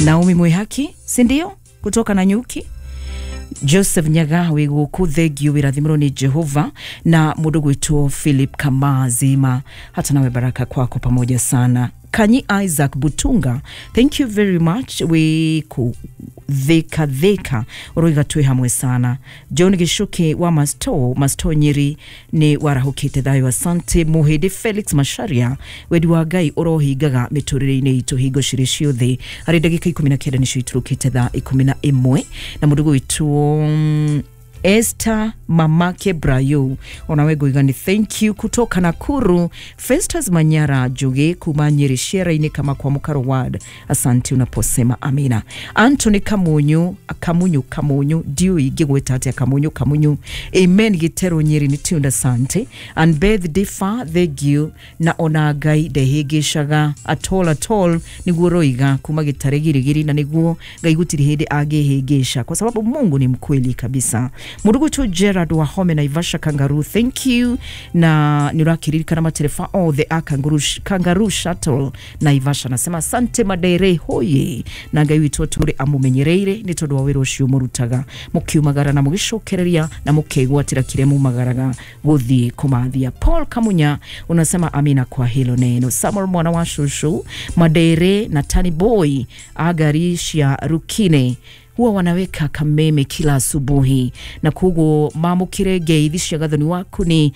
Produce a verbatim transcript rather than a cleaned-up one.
Naomi Mwihaki, si ndio, kutoka Nanyuki. Joseph Nyaga wĩ gũkũ, thengio, wĩrathimĩrwo nĩ Jehova. Na mũndũ gwĩtwo Philip Kamazima, hata nawe baraka kwako pamoja sana. Kanyi Isaac Butunga, thank you very much, wĩ kũ Thika Thika, ũroiga twĩ hamwe sana. John Gicuki wa Masto Masto Nyeri, nĩ warahũkĩte thayũ, asante. Muhĩndĩ Felix Masharia, wendi wa Ngai ũrohingaga mĩtũrĩre-inĩ itũ hingo cirĩ ciothe. Harĩ ndagĩka ikũmi na kenda nĩcio iturũkĩte thaa ikũmi na ĩmwe. Na mũndũ gwĩtwo mm, Esther Mamake Brayo, onawe ngoiga nĩ thank you kutoka Nakuru. Festus Manyara Njugi kuma Nyeri Ciera-inĩ kama kwa Mukaro Ward, asante unaposema amina. Anthony Kamunyu Kamunyu Kamunyu, ndiũĩ ingĩgwĩta atĩa, Kamunyu Kamunyu, amen. Gĩtero Nyeri nĩ tunda, asante. And Beth Difa, thank you. Na ona Ngai ndehĩngĩcaga at all at all, nĩguo roiga kuma gĩtare girigiri, na nĩguo Ngai gũtirĩ hĩndĩ angĩhĩngĩca kwa sababu Mungu ni mkweli kabisa. Murugutu Gerard Wahome, Naivasha Kangaroo, thank you. Na nĩ ũrakĩririkana matereba othe a Kangaroo, Kangaroo Shuttle Naivasha, nasema asante. Madere hoye, na Ngai witũ atũre amumenyereire nĩ tondũ wa wĩra ũcio mũrutaga, mũkiumagara na mũgĩcokereria na mũkegwatĩra kĩrĩa mumagaraga gũthiĩ kũmathia. Paul Kamunya unasema amina kwa hilo neno. Samuel mwana wa shushu Madere na Tani Boy agari cia Rukine huwa wanaweka kameme kila asubuhi, na koguo mamũkĩre ngeithi cia gathoni waku nĩ